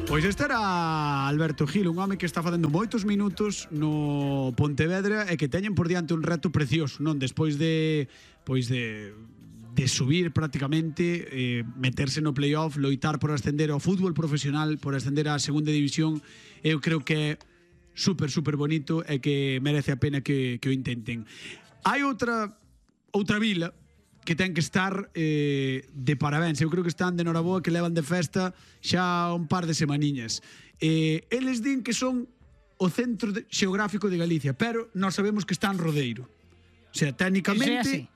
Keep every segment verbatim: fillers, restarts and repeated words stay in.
Pois este era Alberto Gil, un home que está facendo moitos minutos no Pontevedra e que teñen por diante un reto precioso, non? Despois de pois de de subir prácticamente, eh, meterse no playoff, loitar por ascender ao fútbol profesional, por ascender á segunda división, eu creo que é super, super bonito e que merece a pena que, que o intenten. Hai outra outra vila que ten que estar eh, de parabéns. Eu creo que están de noraboa, que levan de festa xa un par de semaniñas. Eh, eles din que son o centro de, xeográfico de Galicia, pero nós sabemos que está en Rodeiro. O sea, técnicamente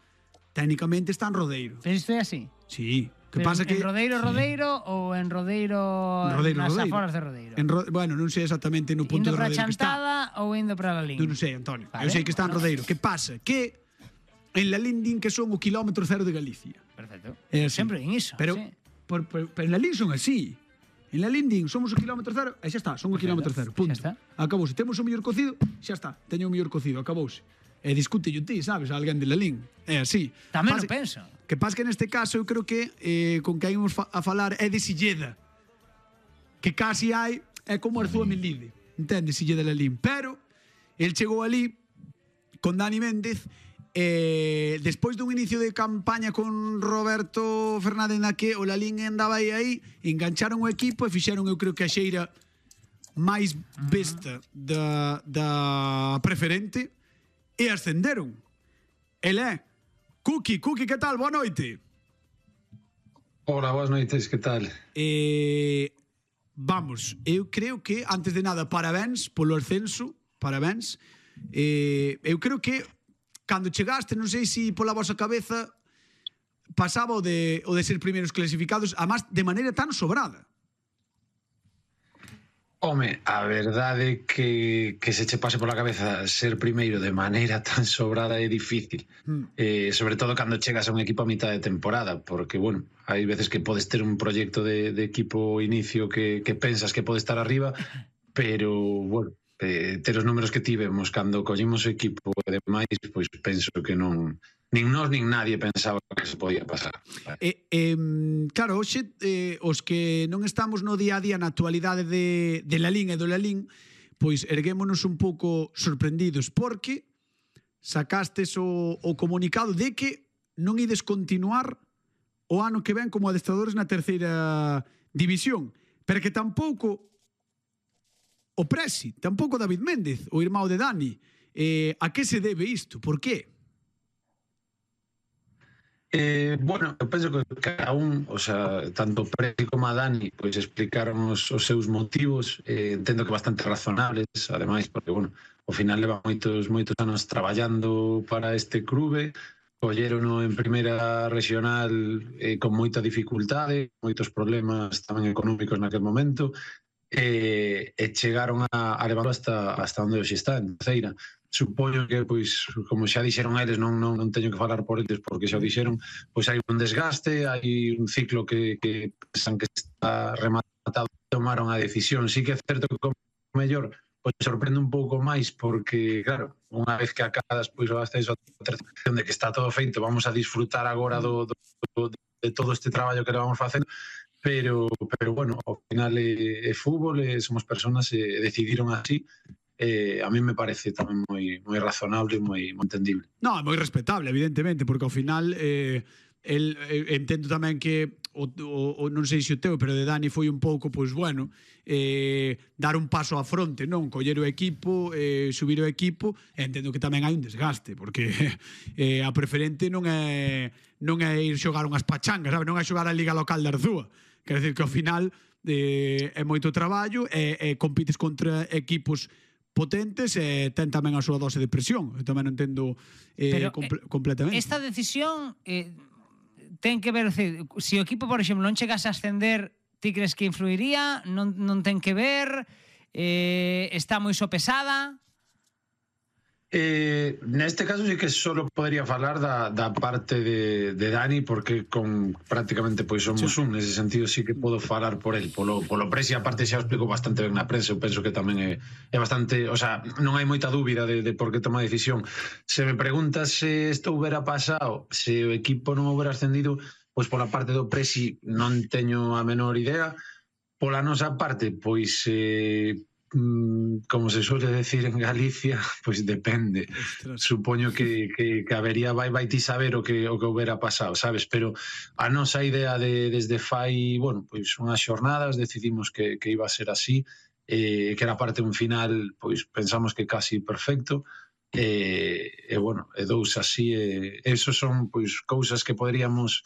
técnicamente está en Rodeiro. Pero isto é así? Sí. Que Pero pasa en que Rodeiro, Rodeiro sí. Ou en Rodeiro, Rodeiro nas Rodeiro. aforas de Rodeiro? En Ro bueno, non sei exactamente no punto indo de Rodeiro que está. Indo para Chantada ou indo para Lalín? Non sei, Antonio. Vale. Eu sei que está en Rodeiro. Que pasa? Que en Lalín din que son o kilómetro cero de Galicia. Perfecto. É sempre din iso. Pero, sí. por, por, pero en Lalín son así. En Lalín din, somos o kilómetro cero, e xa está, son o kilómetro cero, punto. Xa está. Acabouse. Temos o mellor cocido, xa está, teño o mellor cocido, acabouse. E discute yo ti, sabes, alguén de Lalín. É así. Tamén Pase, o penso. Que pasa que neste caso eu creo que eh, con que ímos fa a falar é de Silleda. Que casi hai, é como Arzúa Melide. Entende, Silleda de Lalín. Pero, el chegou ali con Dani Méndez. Eh, despois dun inicio de campaña con Roberto Fernández na que o Lalín andaba aí aí, engancharon o equipo e fixeron, eu creo que a xeira máis besta da, da preferente e ascenderon. El é Cuqui, Cuqui, que tal? Boa noite. Hola, boas noites, que tal? Eh, vamos, eu creo que, antes de nada, parabéns polo ascenso, parabéns. Eh, eu creo que cando chegaste, non sei se pola vosa cabeza pasaba o de, o de ser primeiros clasificados, además de maneira tan sobrada. Home, a verdade que, que se che pase pola cabeza ser primeiro de maneira tan sobrada é difícil. Mm. Eh, sobre todo cando chegas a un equipo a mitad de temporada, porque, bueno, hai veces que podes ter un proxecto de, de equipo inicio que, que pensas que pode estar arriba, pero, bueno, eh, ter os números que tivemos cando collimos o equipo e demais, pois penso que non, nin nós nin nadie pensaba que se podía pasar. Eh, eh, claro, hoxe eh, os que non estamos no día a día na actualidade de, de Lalín e do Lalín, pois erguémonos un pouco sorprendidos porque sacastes o, o comunicado de que non ides continuar o ano que ven como adestradores na terceira división, pero que tampouco o Presi, tampouco David Méndez, o irmão de Dani. Eh, a que se debe isto? Por qué? Eh, bueno, eu penso que cada un, o sea, tanto Presi como a Dani, pois explicaron os, os seus motivos, eh, entendo que bastante razonables, ademais, porque, bueno, ao final leva moitos moitos anos traballando para este clube, collerono en primeira regional eh, con moita dificultade, moitos problemas tamén económicos naquel momento, e, e chegaron a, a levarlo hasta, hasta onde hoxe está, en terceira. Supoño que, pois, como xa dixeron eles, non, non, non teño que falar por eles porque xa o dixeron, pois hai un desgaste, hai un ciclo que, que pensan que está rematado, tomaron a decisión. Sí que é certo que como mellor pois sorprende un pouco máis porque, claro, unha vez que acadas pois o ascenso a terceira, de que está todo feito, vamos a disfrutar agora do, do, do, de todo este traballo que vamos facendo, pero, pero bueno, ao final é, é fútbol, e somos personas e decidiron así. Eh, a mí me parece tamén moi moi razonable e moi, moi entendible. No, é moi respetable, evidentemente, porque ao final eh, el, eh, entendo tamén que o, o, o, non sei se o teu, pero de Dani foi un pouco, pois bueno, eh, dar un paso á fronte, non? Coller o equipo, eh, subir o equipo, e entendo que tamén hai un desgaste, porque eh, a preferente non é non é ir xogar unhas pachangas, sabe? Non é xogar a Liga Local de Arzúa. Quer dizer que ao final eh, é moito traballo e, e compites contra equipos potentes e ten tamén a súa dose de presión. Eu tamén non entendo eh, comple completamente. Esta decisión eh, ten que ver, se o equipo, por exemplo, non chegase a ascender, ti crees que influiría? Non, non ten que ver? Eh, está moi sopesada? Eh, neste caso sí que solo podría falar da, da parte de, de Dani, porque con prácticamente pois somos sí. un, nese sentido sí que podo falar por el, polo, polo Presi, aparte xa o explico bastante ben na prensa, eu penso que tamén é, é bastante, o sea, non hai moita dúbida de, de por que toma a decisión. Se me preguntas se isto houbera pasado, se o equipo non houbera ascendido, pois pola parte do Presi non teño a menor idea, Pola nosa parte, pois eh, como se suele decir en Galicia, pois depende. Ostras. Supoño que, que, que habería vai, vai ti saber o que o que houbera pasado, sabes? Pero a nosa idea de, desde fai, bueno, pois unhas xornadas decidimos que, que iba a ser así, eh, que era parte un final, pois pensamos que casi perfecto, e, e bueno, e dous así, e, esos son pois cousas que poderíamos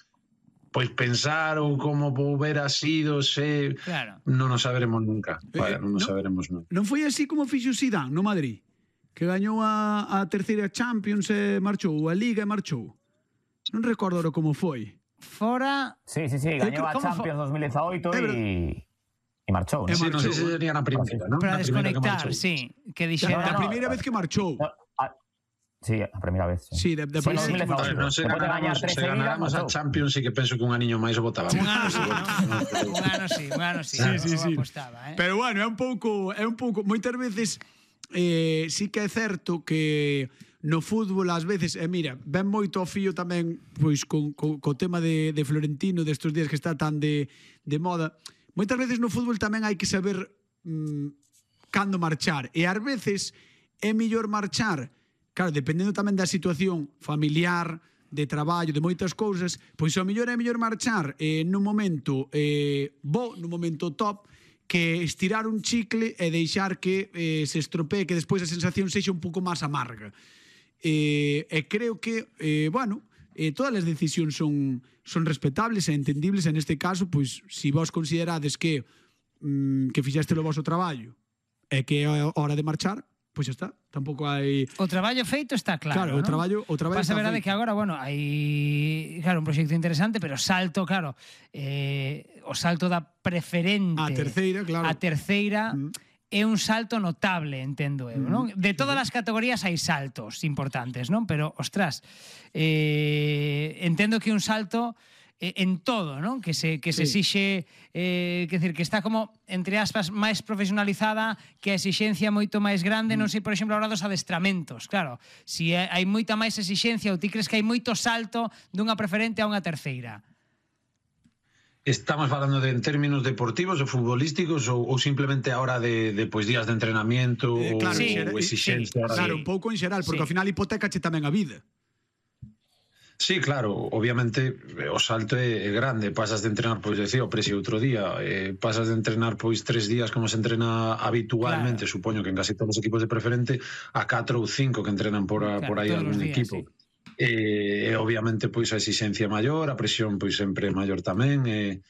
pois pensar ou como houbera sido se Claro. non o saberemos nunca. Vaya, Eh, non o no- saberemos nunca. Non foi así como fixo Zidane no Madrid, que gañou a, a terceira Champions e marchou, a Liga e marchou. Non recordo ahora como foi. Fora... Sí, sí, sí, gañou a ¿Cómo fue? Champions dos mil dieciocho É verdad. y, y marchou, ¿no? É Sí, non sei marchou, se sería na primeira, non? Para Na primeira que desconectar, marchou. sí. Que A, dixera... a no, primeira vez que marchou. No, a- sí, a primeira vez. Sí, de, de Sí, primeira dos mil vez que dieciocho. Vale, marchou. non se Despois de gañar ganáramos, tres se seguidas, ganáramos a marchou. Champions, sí que penso que un aniño máis o botaba. Un ano sí, ¿no? Un ano sí, un ano sí. Sí, eu sí, sí. apostaba, eh? Pero bueno, é un pouco, é un pouco, moitas veces eh, sí que é certo que no fútbol ás veces, e mira, ven moito ao fío tamén pois con, con, co tema de, de Florentino destes días que está tan de, de moda. Moitas veces no fútbol tamén hai que saber mm, cando marchar, e ás veces é mellor marchar, claro, dependendo tamén da situación familiar, de traballo, de moitas cousas, pois ao mellor é mellor marchar eh, nun momento eh, bo, nun momento top, que estirar un chicle e deixar que eh, se estropee, que despois a sensación sexa un pouco máis amarga. Eh, e creo que, eh, bueno, eh, todas as decisións son, son respetables e entendibles, e neste caso, pois, se vos considerades que mm, que fixeste o vosso traballo e que é a hora de marchar, pois xa está, tampouco hai... O traballo feito está claro, Claro, o ¿no? traballo- o traballo Pasa está a verdade feito. que agora, bueno, hai, claro, un proxecto interesante, pero salto, claro, eh, o salto da preferente A terceira, claro. a terceira Mm. é un salto notable, entendo eu, non? De todas as categorías hai saltos importantes, non? Pero, ostras, eh, entendo que un salto eh, en todo, non? Que se que se Sí. exixe, eh, que decir, que está como entre aspas máis profesionalizada, que a exixencia é moito máis grande, non sei, por exemplo, a hora dos adestramentos. Claro, si hai moita máis exixencia ou ti crees que hai moito salto dunha preferente a unha terceira? Estamos falando de en términos deportivos ou futbolísticos ou, ou simplemente a hora de, de pois, días de entrenamiento Eh, ou, claro, Sí, ou sí, exixencia. sí. Claro, un pouco en xeral, porque Sí. ao final hipotécache tamén a vida. Sí, claro, obviamente o salto é, é grande, pasas de entrenar, pois decía o Presi outro día, eh, pasas de entrenar pois tres días como se entrena habitualmente, Claro. supoño que en casi todos os equipos de preferente, a catro ou cinco que entrenan por, a, Claro, por aí todos os algún días, equipo. sí. E, e obviamente pois a exigencia maior, a presión pois sempre é maior tamén, e,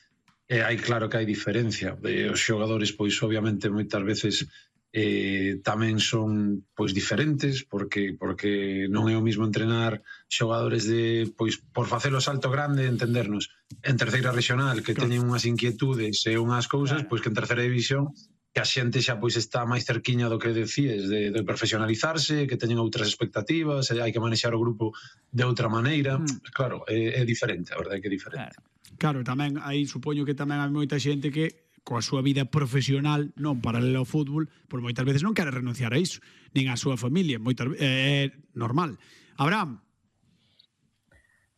e hai claro que hai diferencia. E os xogadores pois obviamente moitas veces eh, tamén son pois diferentes porque porque non é o mismo entrenar xogadores de pois por facer o salto grande, entendernos, en terceira regional que Claro. teñen unhas inquietudes e unhas cousas, Claro. pois que en terceira división que a xente xa pois está máis cerquiña do que decíes de, de profesionalizarse, que teñen outras expectativas, e hai que manexar o grupo de outra maneira. Mm. Claro, é, é diferente, a verdade é que é diferente. Claro. Claro, tamén aí supoño que tamén hai moita xente que coa súa vida profesional, non paralela ao fútbol, por moitas veces non quere renunciar a iso, nin á súa familia, moitas ve- é normal. Abraham,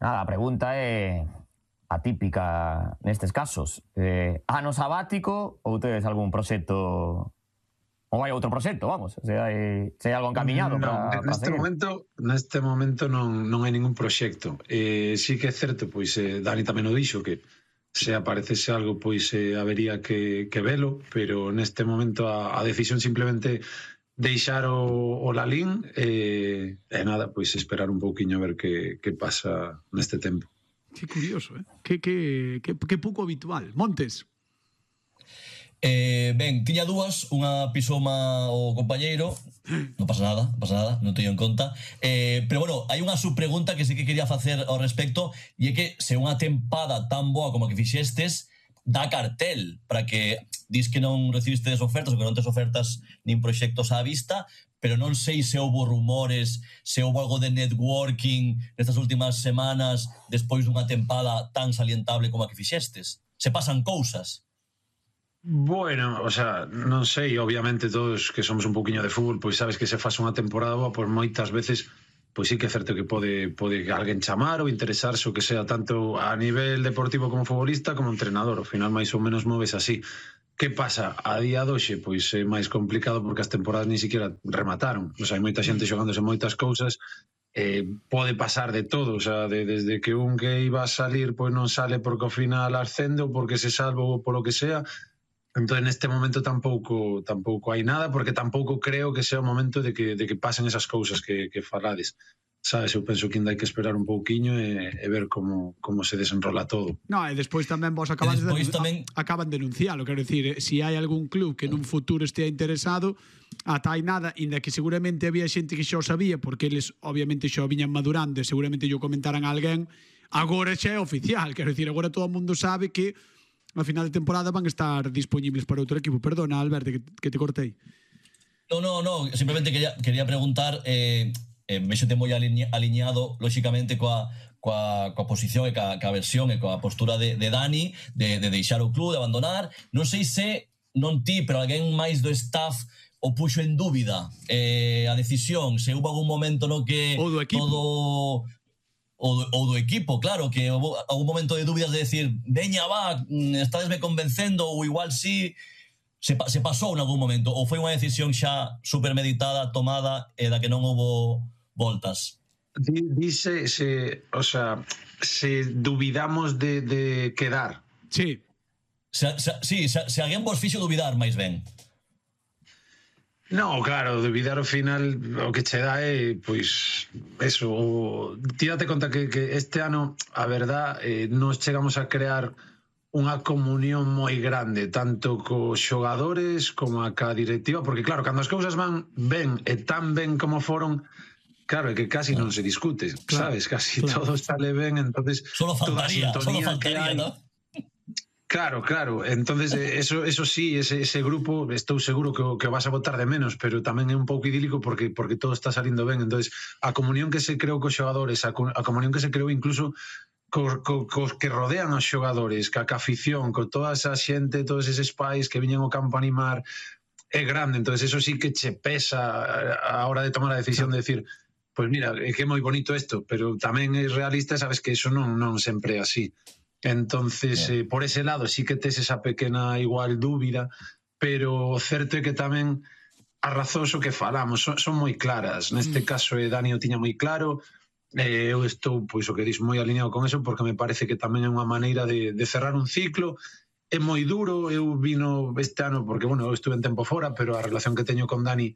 Nada, a pregunta é atípica nestes casos. Eh, ano sabático ou tedes algún proxecto ou hai outro proxecto, vamos, se hai, se hai algo encaminhado non, para, para neste seguir. momento neste momento non, non hai ningún proxecto. Eh, sí que é certo, pois eh, Dani tamén o dixo que se aparecese algo, pois eh, habería que, que velo, pero neste momento a, a decisión simplemente deixar o, o Lalín e, e nada, pois esperar un pouquiño a ver que, que pasa neste tempo. que curioso, eh? Que, que, que, que pouco habitual. Montes, Eh, ben, tiña dúas, unha pisoma o compañeiro, non pasa nada, non pasa nada, non teño en conta. Eh, pero bueno, hai unha subpregunta que sí que quería facer ao respecto, e é que se unha tempada tan boa como a que fixestes dá cartel para que dis que non recibistes ofertas ou que non tes ofertas nin proxectos á vista, pero non sei se houbo rumores, se houbo algo de networking nestas últimas semanas despois dunha tempada tan salientable como a que fixestes. Se pasan cousas. Bueno, o sea, non sei, obviamente todos que somos un pouquiño de fútbol, pois sabes que se faz unha temporada boa, pois moitas veces pois sí que é certo que pode pode alguén chamar ou interesarse o que sea tanto a nivel deportivo como futbolista como entrenador, ao final máis ou menos moves así. Que pasa? A día doxe, pois é máis complicado porque as temporadas ni siquiera remataron. O sea, hai moita xente xogándose moitas cousas, eh, pode pasar de todo, o sea, de, desde que un que iba a salir pois non sale porque ao final ascende ou porque se salva ou polo que sea. Entón, neste momento tampouco tampouco hai nada, porque tampouco creo que sea o momento de que, de que pasen esas cousas que, que falades. Sabes, eu penso que ainda hai que esperar un pouquiño e, e ver como, como se desenrola todo. No, e despois tamén vos acabas de tamén... acaban de denuncialo, quero dicir, se si hai algún club que nun futuro estea interesado, ata hai nada, inda que seguramente había xente que xa o sabía, porque eles obviamente xa o viñan madurando e seguramente yo comentaran a alguén, agora xa é oficial, quero dicir, agora todo o mundo sabe que a final de temporada van a estar disponibles para outro equipo. Perdona, Alberto, que, que te cortei. No, no, no, simplemente quería, quería preguntar, eh, eh, vexote moi alinea, alineado, lóxicamente, coa, coa, coa posición e coa, coa versión e coa postura de, de Dani, de, de deixar o club, de abandonar. Non sei se, non ti, pero alguén máis do staff o puxo en dúbida eh, a decisión, se hubo algún momento no que o do equipo. todo... O do, o do equipo, claro, que houve algún momento de dúbidas de decir, veña, va, estádesme convencendo, ou igual sí, se, se pasou en algún momento, ou foi unha decisión xa supermeditada, tomada, e da que non houve voltas? Dice, se, o sea, se dubidamos de, de quedar. Sí. Se, se, sí, se, se alguén vos fixo dubidar, máis ben. No, claro, dubidar ao final o que che dá é, pois, eso, tírate conta que, que este ano, a verdad, eh, nos chegamos a crear unha comunión moi grande, tanto cos xogadores como a ca directiva, porque claro, cando as cousas van ben e tan ben como foron, claro, é que casi non se discute, claro, sabes, casi claro. todo sale ben, entonces solo faltaría, solo faltaría, ¿no? Claro, claro, entonces eso, eso sí, ese, ese grupo estou seguro que o, que o vas a botar de menos, pero tamén é un pouco idílico porque porque todo está salindo ben, entonces a comunión que se creou cos xogadores, a, a comunión que se creou incluso cos, cos, cos que rodean os xogadores, ca, ca afición, con toda esa xente, todos eses pais que viñen ao campo a animar, é grande, entonces eso sí que che pesa a hora de tomar a decisión de decir, pois pues mira, é que é moi bonito isto, pero tamén é realista, sabes que eso non, non sempre é así. Entonces, eh, por ese lado sí que tes esa pequena igual dúbida, pero o certo é que tamén as razóns o que falamos son, son moi claras. Neste caso, eh, Dani o tiña moi claro, eh, eu estou, pois o que dis, moi alineado con eso, porque me parece que tamén é unha maneira de, de cerrar un ciclo. É moi duro, eu vino este ano, porque, bueno, eu estuve en tempo fora, pero a relación que teño con Dani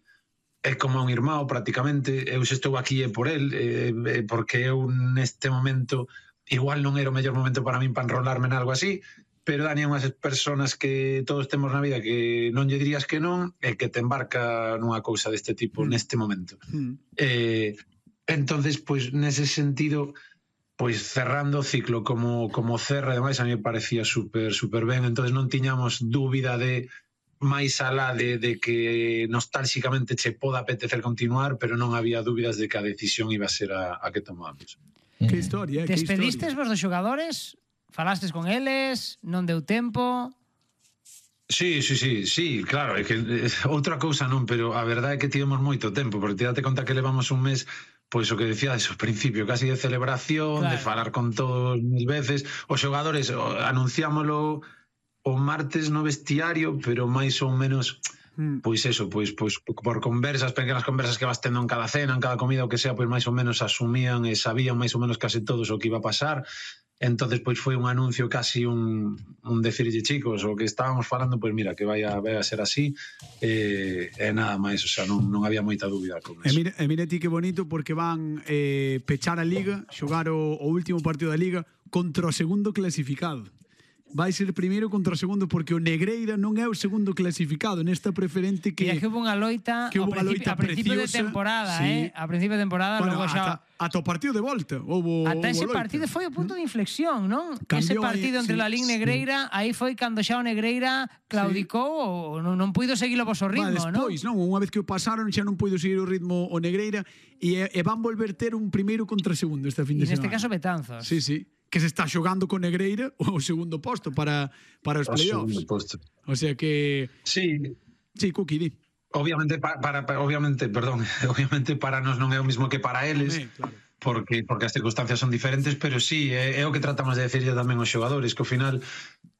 é como un irmão, prácticamente. Eu se estou aquí é por el, eh, porque eu neste momento... igual non era o mellor momento para min para enrolarme en algo así, pero Dani é unhas personas que todos temos na vida que non lle dirías que non e que te embarca nunha cousa deste tipo mm. neste momento. Mm. Eh, entonces, pois, nese sentido, pois cerrando o ciclo como, como cerra, ademais, a mí me parecía super, super ben, entonces non tiñamos dúbida de máis alá de, de que nostálxicamente che poda apetecer continuar, pero non había dúbidas de que a decisión iba a ser a, a que tomamos. Que historia, eh? Despedistes vos dos xogadores? Falastes con eles? Non deu tempo? Sí, sí, sí, sí, claro, é que é, outra cousa non, pero a verdade é que tivemos moito tempo, porque te date conta que levamos un mes, pois o que decía ao principio, casi de celebración, claro, de falar con todos mil veces, os xogadores anunciámoslo o martes no vestiario, pero máis ou menos... Pois eso, pois, pois por conversas, pequenas conversas que vas tendo en cada cena, en cada comida, o que sea, pois máis ou menos asumían e sabían máis ou menos case todos o que iba a pasar. Entonces, pois foi un anuncio casi un, un decirlle, chicos, o que estábamos falando, pois mira, que vai a, vai a ser así, e, e nada máis, o sea, non, non había moita dúbida con eso. E mira, e mira ti que bonito, porque van eh, pechar a Liga, xogar o, o último partido da Liga contra o segundo clasificado. Vai ser primeiro contra o segundo, porque o Negreira non é o segundo clasificado nesta preferente que... E é que hubo unha loita, que hubo a, principio, loita a principio de temporada, sí. eh? A principio de temporada, bueno, logo xa... Ata, ata o partido de volta. Houbo, ata ese houbo partido foi o punto de inflexión, non? Cambiou ese partido aí, entre sí, la Liga Negreira, sí. Aí foi cando xa o Negreira claudicou, sí. ou non, non puido seguir o vosso ritmo, va, despois, non? non? Unha vez que o pasaron xa non puido seguir o ritmo o Negreira e, e van volver ter un primeiro contra segundo este fin de semana. E neste semana. caso Betanzos. Sí, sí. Que se está xogando con Negreira o segundo posto para, para os playoffs. O sea que... Sí. Sí, Cookie, di. Obviamente, para, para, obviamente, perdón, obviamente para nós non é o mismo que para eles, Tamén, claro. porque, porque as circunstancias son diferentes, pero sí, é, é o que tratamos de decirlle tamén aos xogadores, que ao final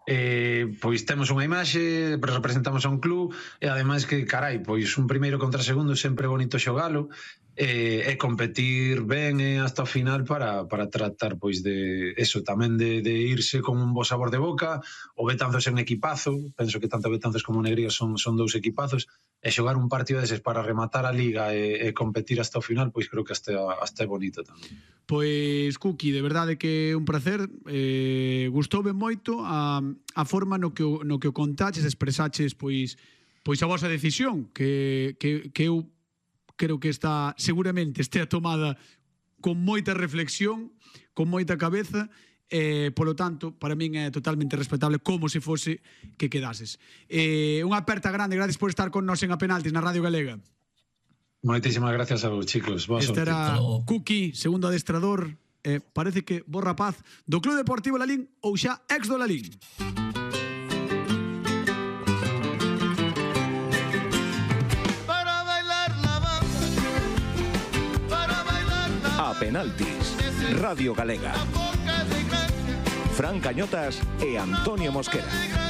eh, pois temos unha imaxe, representamos a un club e ademais que, carai, pois un primeiro contra segundo sempre é bonito xogalo e, e competir ben e hasta o final para, para tratar pois de eso, tamén de, de irse con un bo sabor de boca. O Betanzos é un equipazo, penso que tanto Betanzos como Negrías son, son dous equipazos, e xogar un partido deses para rematar a liga e, e competir hasta o final, pois creo que hasta, hasta é bonito tamén. Pois, Cuqui, de verdade que é un placer, eh, gustoume moito a, a forma no que, o, no que o contaches, expresaches pois, pois a vosa decisión, que, que, que eu creo que está, seguramente estea tomada con moita reflexión, con moita cabeza, eh, polo tanto, para min é totalmente respetable como se fose que quedases. Eh, unha aperta grande, gracias por estar con nos en A Penaltis na Radio Galega. Moitísimas gracias a vos, chicos. Boa Este sorte. era Cuqui, segundo adestrador, eh, parece que bo rapaz do Club Deportivo Lalín ou xa ex do Lalín. A Penaltis, Radio Galega. Fran Cañotas e Antonio Mosquera.